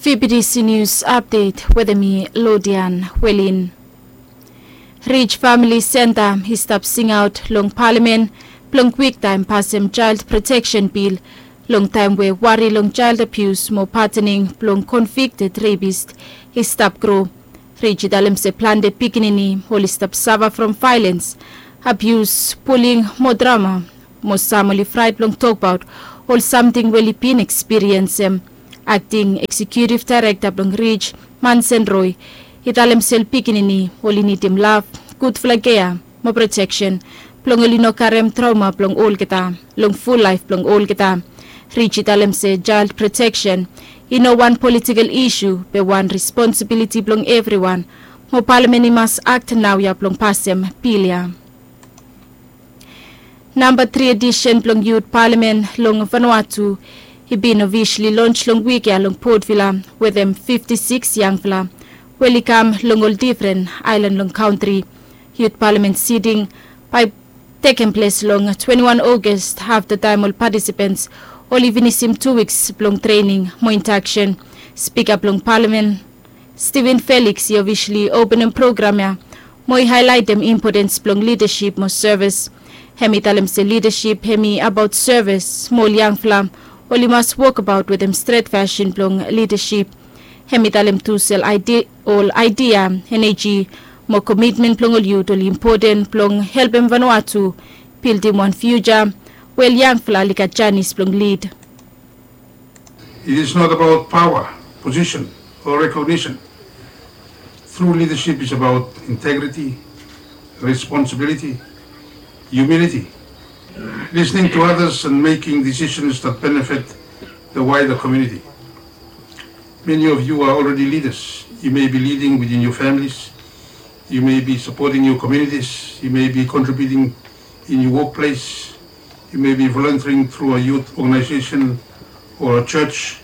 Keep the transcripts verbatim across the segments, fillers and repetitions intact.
B B C News Update wetem mi Lodian Welin. Ridge Family Center i stap singaot long palamen blong kwiktaem pasem Child Protection Bill long taem we wari long child abuse mo patening blong convicted rapist i stap gro. Ridge i talem se plante pikinini oli stap safa from vaelens, abuse, buling mo drama mo sam oli fraet blong tokbaot ol samting we oli bin ekspiriensem. Akting Eksekutiv Daerekta blong Ridge, Mansen Roy, i talem se ol pikinini oli nidim lav, gudfala kea mo proteksen blong oli no karem traoma blong olgeta long ful laef blong olgeta. Ridge i talem se child proteksen i no wan politikel isu be wan responsibiliti blong evriwan mo palamen i mas akt naoia blong pasem bil ya. Namba tri edisen blong Yut Palamen long Vanuatu i bin ofisali lons long wik ya long Port Vila wetem fifti sikis yangfala we oli kam long ol difren aelan long kantri. Yut Palamen siting bae tekem ples long twenti wan Aogust afta taem ol patisipants oli finisim tu wiks blong trening mo indaksen. Spika blong Palamen Steven Felix i ofisali openem program ya mo i haelaetem impotens blong lidasip mo sevis. Hem i talem se lidasip hem i abaot sevis mo ol yangfala oli mas wokbaot wetem stret fasin blong lidasip. Hem i talem tu se ol aedia, eneji mo komitmen blong ol yut oli impoten blong helpem Vanuatu bildim wan fiuja we ol yangfala oli gat janis blong lid. It is not about power, position, or recognition. True leadership is about integrity, responsibility, humility, listening to others and making decisions that benefit the wider community. Many of you are already leaders. You may be leading within your families. You may be supporting your communities. You may be contributing in your workplace. You may be volunteering through a youth organization or a church.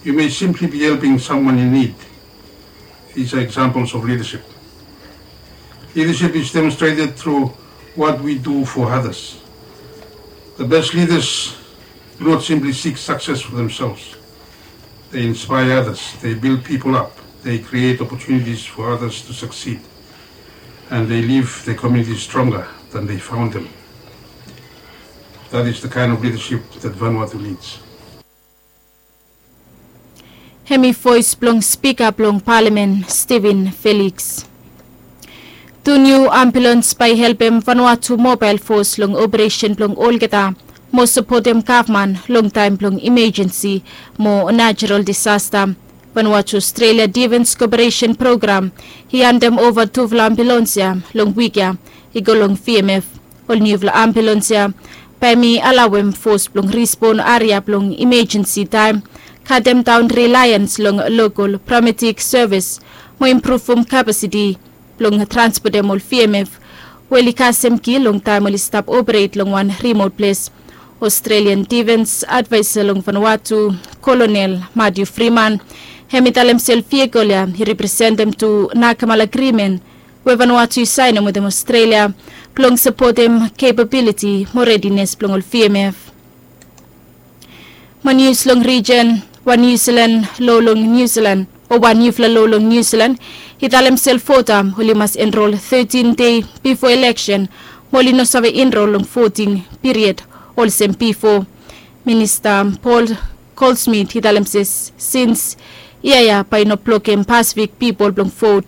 You may simply be helping someone in need. These are examples of leadership. Leadership is demonstrated through what we do for others. The best leaders do not simply seek success for themselves. They inspire others, they build people up, they create opportunities for others to succeed, and they leave their communities stronger than they found them. That is the kind of leadership that Vanuatu needs. Hem i voes blong spika blong palamen Steven Felix. Tu niu ambulans bae i helpem Vanuatu Mobael Fos long operesen blong olgeta mo sapotem gavman long taem blong imejensi mo najerol disasta. Vanuatu Australia Defens Koperesen Program i handem ova tufala ambulans ya long wik ya i go long V M F. Ol niufala ambulans ya bae hem i alaoem fos blong rispon aria blong imejensi taem, katem daon rilaeans long lokol paramedik sevis mo impruvum kapasiti blong transpotem ol V M F we oli kasem ki long taem oli stap operet long wan rimot ples. Australian Defens Advaesa long Vanuatu, Kolonel Matthew Freeman, hem i talem se ol vihikol ya i representem tu Nakamala Agrimen we Vanuatu i saenem wetem Australia blong sapotem kepabiliti mo redines blong ol V M F. Mo nius long rijen, wan Niu Silan lo long Niu Silan o wan niufala lo long Niu Silan i talem se ol vota oli mas enrol tetin dei bifo eleksen mo oli no save enrol long voting piried olsem bifo. Minista Paul Goldsmith i talem se sins yia ya bae i no blokem Pasifik pipol blong vot.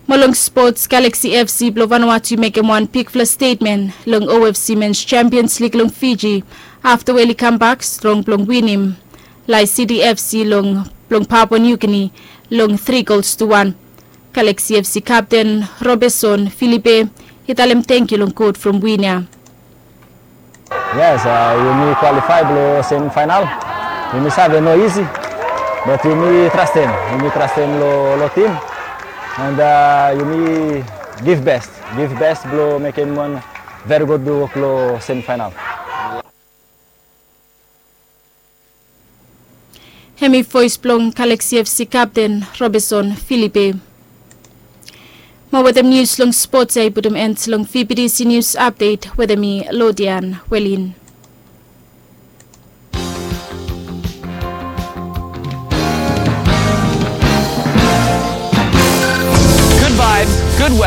Mo long spots, Galaxy F C blong Vanuatu i mekem wan bigfala stetmen long O F C Mens Champions League long Fiji afta we oli kambak strong blong winim Lae City F C long blong Papua New Guinea long tri gols tu wan. Galaxy F C kapten Roberson Filipe i talem tangkiu long God from win ya. Yes, yumi kwalifae blong semifaenal. Yumi save no isi, bat yumi trastem, yumi trastem long tim, and yumi giv best, giv best blong mekem wan veri gud wok long semifaenal. Hemi voes blong Galaxy F C kapten Roberson Filipe. Mo wetem nius long spots ya i putum en long V B T C News Update wetem mi Lodian Welin.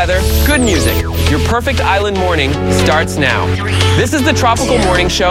Good music. Your perfect island morning starts now. This is the Tropical Morning Show